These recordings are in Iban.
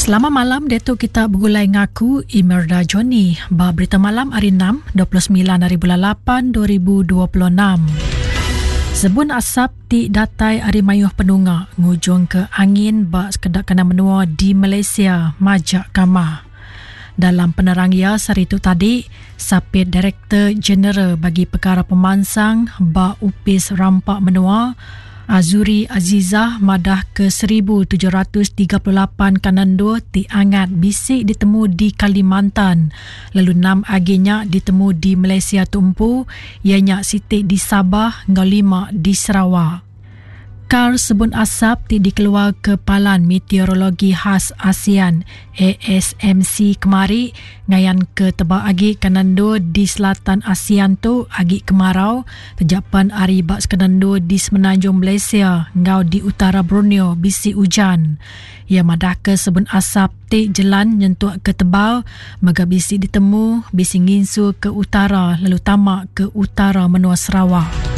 Selamat malam diatu kita begulai ngaku Imelda Johnny ba berita malam hari 6 29 hari bulan 8 2026. Sebun asap ti datai ari mayuh penunga ngujung ke angin ba sekeda kandang menua di Malaysia majak kamah. Dalam penerang iya sehari tu tadi, Sapit Direktor Jeneral bagi Pekara Pemansang ba Opis Rampa Menua, Azuri Azizah madah ke 1738 kandang endur ti angat bisi ditemu di Kalimantan lalu enam agi nya ditemu di Malaysia tu empu iya nya siti di Sabah enggau lima di Sarawak. Kar sebun asap ti dikeluarka Palan Meteorologi Khas ASEAN, ASMC, kemari ngayanka tebal agi kandang endur di selatan ASEAN tu agi kemarau taja pan ari ba sekeda endur di Semenanjung Malaysia enggau di utara Borneo bisi ujan. Iya madahka sebun asap ti jelan nyentuk ke tebal mega bisi ditemu bisi nginsul ke utara lalu tama ke utara menua Sarawak.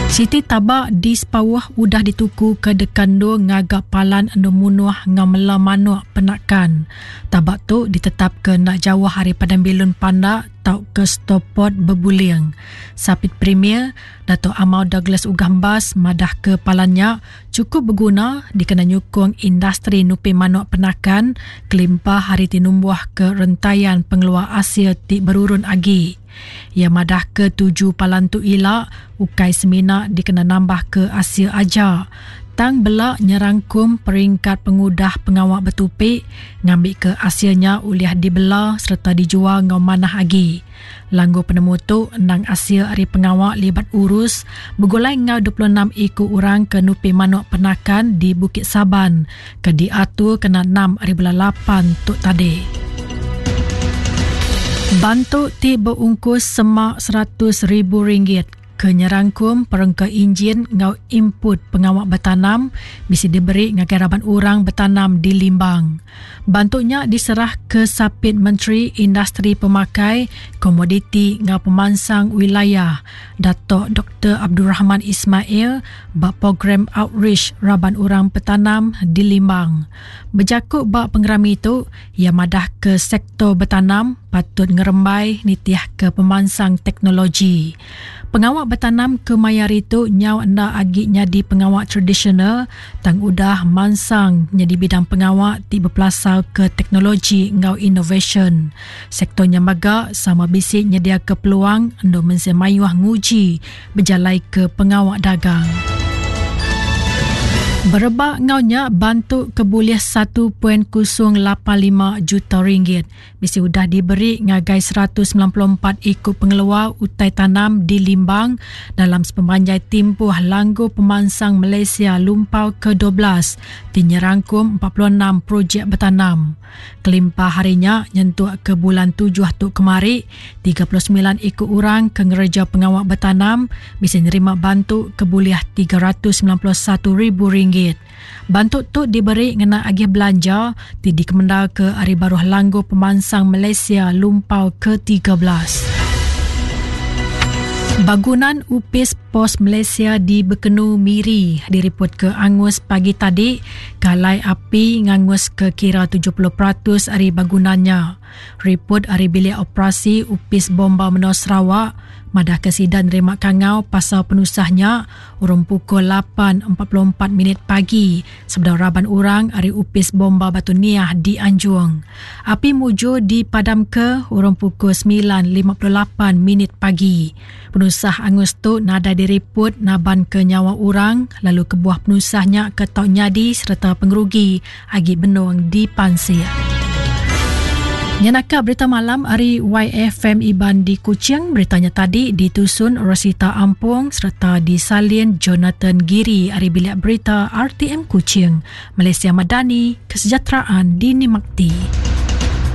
Siti taba di Sepauh udah dituku ke deka endur ngaga palan endur munuh enggau mela manuk penakan. Taba tu ditetapka enda jauh ari Padang Bilun Pandak tauka Stoport Bebuling. Sapit Premier, Datuk Amar Douglas Uggah Embas madahka palan nya chukup beguna dikena nyukung industri nupi manuk penakan kelimpah ari ti numbuhka rentayan pengeluar asil ti berurun agi. Iya madahka tuju palan tu ila ukai semina dikena nambahka asil aja tang bela nyerangkum peringkat pengudah pengawa betupi ngambika asil nya ulih dibela sereta dijual enggau manah agi. Langgur penemu tu endang asil ari pengawa libat urus begulai enggau 26 iku orang ke nupi manuk penakan di Bukit Saban ke diatur kena enam ari bulan lapan tu tadi. Bantu ti beungkus semak RM100,000 ke nyerangkum perengka injin enggau input pengawa betanam bisi diberi ngagai raban orang betanam di Limbang. Bantu nya diserah ke Sapit Menteri Industri Pemakai, Komoditi enggau Pemansang Wilayah, Datuk Doktor Abdul Rahman Ismail ba Program Outreach Raban Orang Betanam di Limbang. Bejaku ba pengerami tu, iya madahka sektor betanam patut ngerembai nitihka pemansang teknologi. Pengawa betanam ke maya hari tu nyau enda agi nyadi pengawa tradisional tang udah mansang nyadi bidang pengawa ti bepelasarka teknologi enggau inovasyen. Sektor nya mega sama bisi nyediaka peluang endur mensia mayuh nguji bejalaika pengawa dagang. Berebak enggau nya, bantu ke bulih 1.085 juta ringgit bisi udah diberi ngagai 194 iku pengeluar utai tanam di Limbang dalam sepemanjai timpuh Langgur Pemansang Malaysia Lumpau ke-12 ti nyerangkum 46 projek betanam. Kelimpah hari nya nyentuk ke bulan tujuh tu kemari, 39 iku orang ke ngereja pengawa betanam bisi nerima bantu ke bulih RM391,000. Bantu tu diberi ngena agih belanja ti dikemendarka ari baruh Langgur Pemansang Malaysia Lumpau ke-13. Bangunan Upis Pos Malaysia di Bekenu Miri diripotka angus pagi tadi ke alai api nganguska kira 70% ari bangunan nya. Riput ari Bilik Operasi Upis Bomba Menua Sarawak madahka sida nerima kangau pasal penusah nya urung pukul 8.44 minit pagi sebedau raban orang ari Opis Bomba Batu Niah dianjung. Api mujur dipadamka urung pukul 9.58 minit pagi. Penusah angus tu nadai diriput nabanka nyawa orang lalu kebuah penusah nya ke tau nyadi sereta pengerugi agi benung dipansik. Nya naka berita malam ari YFM Iban di Kuching. Berita nya tadi ditusun Rosita Ampung sereta disalin Jonathan Giri ari Bilik Berita RTM Kuching. Malaysia Madani, Kesejahteraan Dinikmati.